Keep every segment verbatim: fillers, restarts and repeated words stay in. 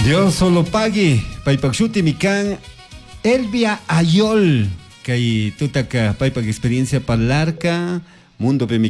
Dios solo pagui, paypak shuti mi kan Elvia Ayol, kay tutaka paypak experiencia parlarka, mundo mi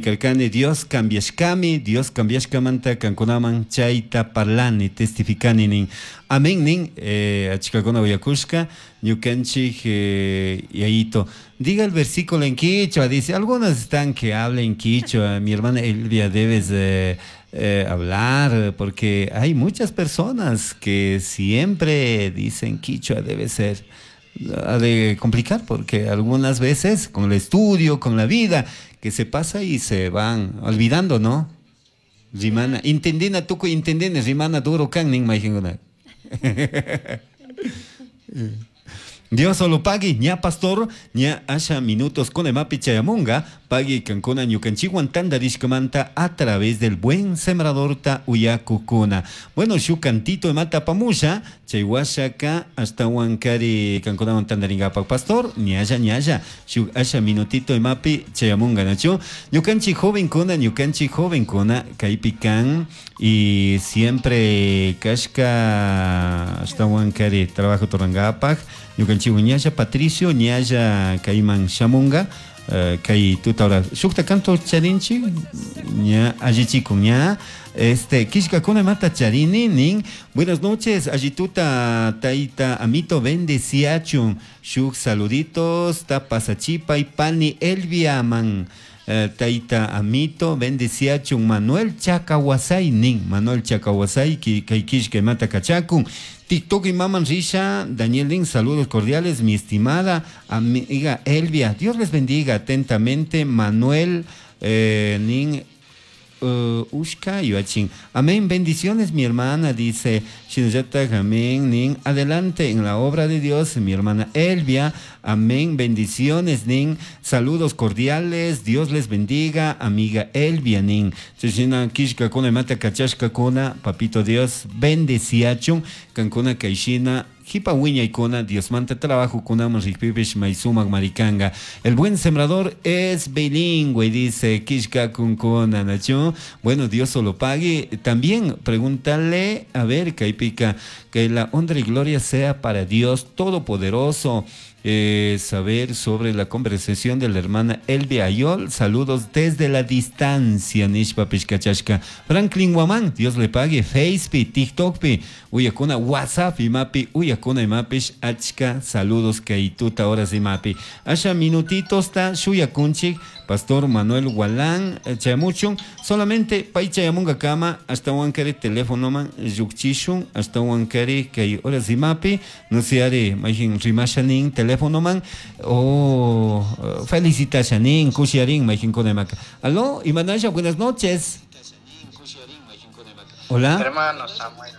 Dios cambiashkami, Dios cambiashkamanta kankunaman chayta parlani, testificani nin. Amén nin, eh, achkakuna uyakushka, ñukanchik eh, yayito. Diga el versículo en quichua, dice, algunos están que hablen quichua, mi hermana Elvia debes eh, eh, hablar, porque hay muchas personas que siempre dicen quichua debe ser ha de complicar porque algunas veces con el estudio, con la vida que se pasa y se van olvidando, ¿no? Rimana, intendina tukuy intendina rimana duro kan nin mayqinkuna. Dios solo pagui, ña pastor, ña asha minutos con emapi chayamunga, pagui kankuna ñukanchikwan tantarishkamanta a través del buen sembrador ta uyakukuna. Bueno, shu cantito emata pamusha, chay washaka hasta wankari kankunawan tantaringapak pastor, ñalla ñalla, shu asha minutito emapi chayamunga nachu. Ñukanchik jovenkuna, ñukanchik jovenkuna, kaypi kan y siempre kashka hasta wankari trabajo turangapak. Ñukanchik ñalla Patricio ñalla kayman shamunga uh, kay tuta hora shukta canto charinchik ña allichikun ña este kishkakuna mata charini nin. Buenas noches allituta taita amito bendeciachun shuk saluditos ta pasachipa y pani Elvia man. Uh, taita amito bendeciachun Manuel Chacahuasay nin. Manuel Chacahuasay ki kay kishka mata kachakun. TikTok y Maman Risha, Daniel Lin, saludos cordiales, mi estimada amiga Elvia. Dios les bendiga atentamente, Manuel eh, Nin uh, Ushka Yuachin. Amén, bendiciones, mi hermana, dice Shinayata, amén, Nin. Adelante en la obra de Dios, mi hermana Elvia. Amén, bendiciones, Nin. Saludos cordiales, Dios les bendiga, amiga Elvia, Nin. Chishina kishka kuna mata kachashka kuna, papito Dios, bendeciachun, kankuna kaishina, jipa wiñaykuna, Dios manta trabajo kunaman rikpipish maysumak marikanga. El buen sembrador es bilingüe, dice Kishka kunkuna, nachu. Bueno, Dios solo pague. También pregúntale, a ver, Kaipika, que la honra y gloria sea para Dios Todopoderoso. Eh, saber sobre la conversación de la hermana Elvia Ayol. Saludos desde la distancia, Nishpa Pishkachashka. Franklin Guamán, Dios le pague. Facebook, TikTok, pi, uyakuna, WhatsApp, imapi, uyakuna, imapish, achka, saludos, kaituta, horas imapi. Asha minutitos ta, shuyakunchik, Pastor Manuel Gualán, chayamuchun, solamente pay chayamunga kama, hasta wankari teléfono man, yukchishun, hasta wankari kay horas imapi, no se are, majin rimashanin, teléfono man, o oh, felicitashanin, kushiarin, majin konemaka. Aló, Imanaya, buenas noches. Hola. Hermano Samuel.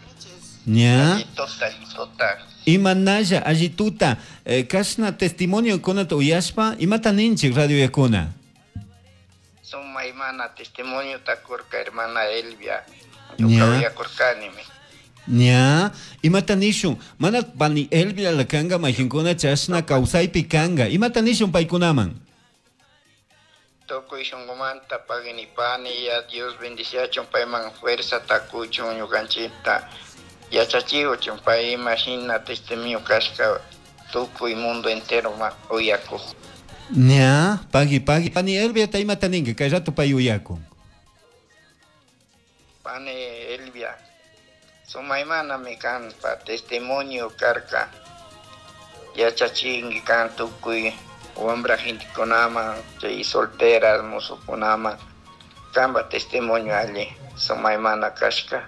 Ña. Allituta. Imanaya, allituta. Eh, kashna testimonio kunata uyashpa, imata ninchik radio yakuna. Suma imana testimonio takurka hermana Elvia. Ñuka uyakurkanimi. Ña, imata nishun, mana pani Elvia lakanga majinkuna chashna kawsaypi kanga. Imata nishun paykunaman. Tukuy shunqumanta paginipani ya Dios bendiciachun payman fuerza takuchun ñukanchikta yachachiwchun pay imashina testimonio kashka tukuy mundo entero ma uyakuq. Ña, pagui pagui. Pani Elvia ta imata ninki kay rato pay uyakun. Pani Elvia, sumaymanami kanpa testimonio karka yachachinki kan tukuy wambra gentekunaman chay solteras musukunaman kanpa testimonio alli sumaymana kashka.